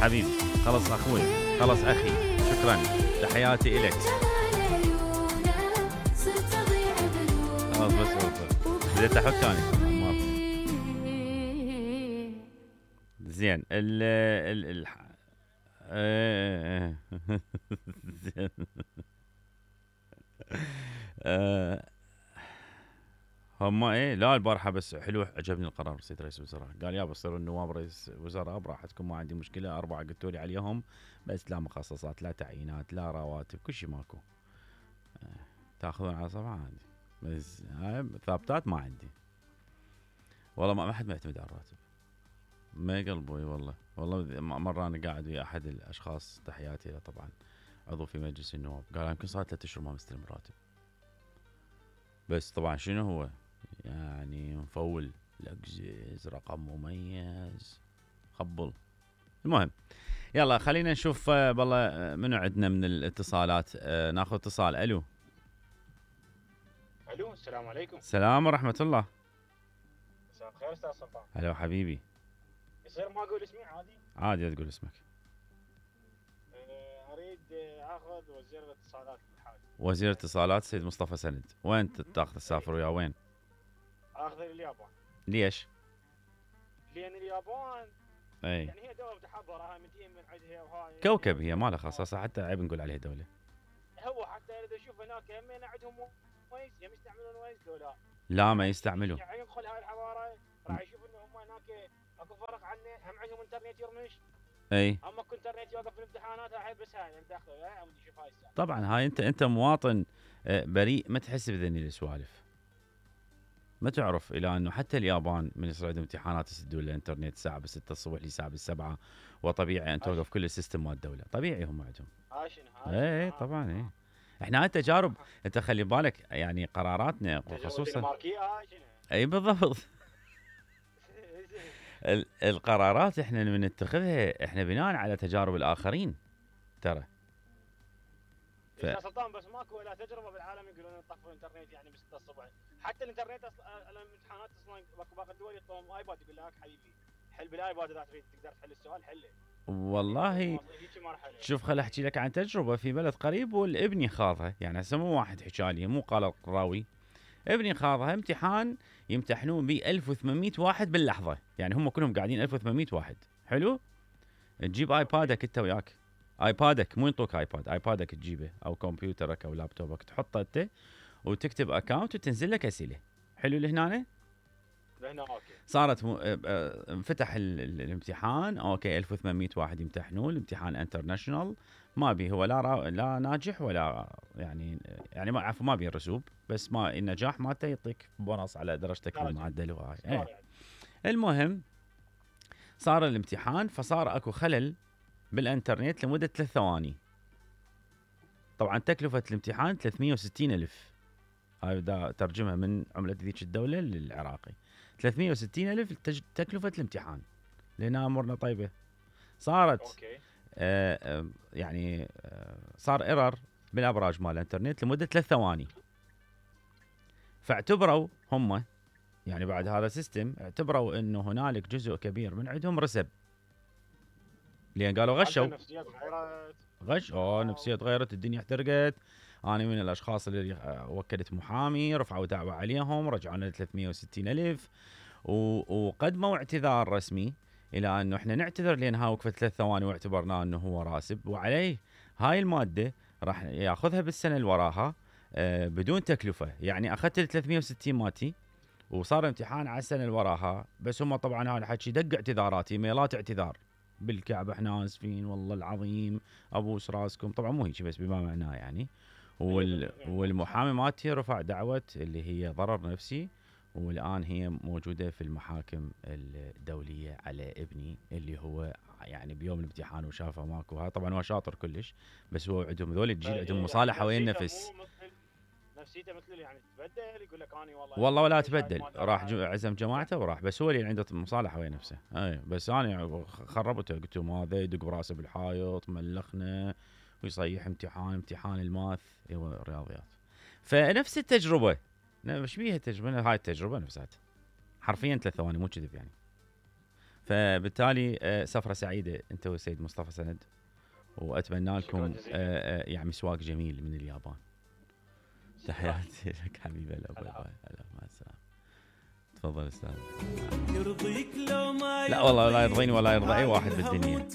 حبيبي، خلص اخوي، خلص اخي، شكرا، تحياتي الك. خلاص بس بديت احك انا. زين ال زين. هم لا البارحه بس حلو، عجبني القرار سيد رئيس الوزراء، قال يا بصيروا النواب رئيس وزراء براحتكم ما عندي مشكله، 4 قلتوا لي عليهم، بس لا مخصصات لا تعيينات لا رواتب كل شيء ماكو، تاخذون على صفحه عندي، بس هاي ثابتات ما عندي. والله ما حد معتمد على الراتب، ما قلبوي والله مره انا قاعد ويا احد الاشخاص، تحياتي له طبعا، عضو في مجلس النواب، قال يمكن صار 3 اشهر ما مستلم راتب، بس طبعا شنو هو يعني مفول الاكزيز رقم مميز خبل. المهم يلا خلينا نشوف والله منو عندنا من الاتصالات. ناخذ اتصال. الو السلام عليكم. السلام ورحمه الله. مساء الخير استاذ سلطان. هلا حبيبي. يصير ما اقول اسمي عادي؟ عادي تقول اسمك. اريد اخذ وزير الاتصالات بالحاج. وزير الاتصالات سيد مصطفى سند، وين تاخذ تسافر ويا وين؟ اخذ اليابان. ليش؟ لان اليابان اي يعني هي دوله متحضره، متين من عندها وهاي كوكب، هي ما لها خصاصه، حتى عيب نقول عليها دوله. هو حتى اذا اشوف هناك همين عندهم ويز، هم يستعملون ويز لو لا ما يستعملوا. يعني يدخل هاي الحضاره راح يشوف انه هم هناك اكو فرق عنه، هم عندهم انترنت يرمش. اي اما اكو انترنت يوقف في الامتحانات، هاي بس هاي داخله هاي شوف هاي السالفه. طبعا هاي انت مواطن بريء، ما تحس بذني السوالف، ما تعرف الى انه حتى اليابان من يصير عندهم امتحانات يسدون الانترنت الساعه ب 6 الصبح للساعه ب7، وطبيعي ان توقف كل السيستم مال الدوله، طبيعي هم عندهم. اي طبعا اي. احنا هاي تجارب، انت خلي بالك يعني قراراتنا خصوصا اي بالضبط. القرارات احنا من نتخذها احنا بناء على تجارب الاخرين ترى. يا سلطان بس ماكو ولا تجربه بالعالم يقولون يطفوا الانترنت يعني ب 6 الصبح، حتى الانترنت الامتحانات اصلا باقي الدول يعطون ايباد، يقول لك حبيبي حل بالايباد اذا تريد تقدر تحل السؤال حله. والله شوف خل احكي لك عن تجربه في بلد قريب والابني خاضها، يعني هسه مو واحد حكى لي، مو قال الراوي، ابني خاضها امتحان يمتحنون به 1800 واحد باللحظه، يعني هم كلهم قاعدين 1800 واحد. حلو، تجيب ايبادك انت وياك، ايبادك مو ينطوك ايباد، ايبادك تجيبه او كمبيوترك او لابتوبك تحطه انت وتكتب اكاونت وتنزل لك اسئله. حلو لهنا اوكي. صارت انفتح الامتحان، اوكي 1800 واحد يمتحنون الامتحان انترناشونال، ما بي هو لا ناجح ولا يعني ما عفوا ما بي الرسوب، بس ما النجاح مالته يعطيك بونص على درجتك بالمعدل وهاي. المهم صار الامتحان، فصار اكو خلل بالانترنت لمده 3 ثواني. طبعا تكلفه الامتحان 360,000، هاي دا ترجمها من عمله ذيك الدوله للعراقي، 360,000 تكلفه الامتحان، لان امورنا طيبه. صارت يعني صار ايرور بالابراج مال الانترنت لمده 3 ثواني، فاعتبروا هم يعني بعد هذا السيستم اعتبروا انه هنالك جزء كبير من عندهم رسب، لان قالوا غشوا نفسية غيرت، الدنيا احترقت. انا من الاشخاص اللي وكلت محامي، رفعوا دعوة عليهم، رجعوا لنا 360,000 وقدموا اعتذار رسمي الى انه احنا نعتذر لان هاي وقفت 3 ثواني واعتبرناه انه هو راسب، وعليه هاي المادة راح ياخذها بالسنة اللي وراها بدون تكلفة. يعني اخذت ال 360 ماتي وصار امتحان على السنة اللي وراها، بس هم طبعا هذا الحكي دق اعتذارات، ايميلات اعتذار بالكعب، احنا اسفين والله العظيم ابوس راسكم، طبعا مو هيك بس بما معناه يعني. والمحامي مالتي رفع دعوة اللي هي ضرر نفسي، والان هي موجودة في المحاكم الدولية على ابني اللي هو يعني بيوم الامتحان وشافه ماكو. هذا طبعا هو شاطر كلش، بس هو عندهم ذول الجيل عندهم مصالحة ويا النفس، نفسيته مثل يعني تبدل، يقول لك اني والله ولا تبدل، راح عزم جماعته وراح، بس هو اللي عنده مصالحه ويا نفسه. اي بس انا خربته، قلت له هذا يدق براسه بالحائط، ملخنا ويصيح امتحان الماث هو الرياضيات. فنفس التجربه، ايش بيها التجربه، هاي التجربه نفسها حرفيا 3 ثواني مو كذب يعني. فبالتالي سفره سعيده انت والسيد مصطفى سند، واتمنى لكم يعني مسواق جميل من اليابان. تحياتي لك حبيبي. هلا مع السلامه. تفضل استاذ. لا والله لا يرضيني ولا يرضى اي واحد بالدنيا.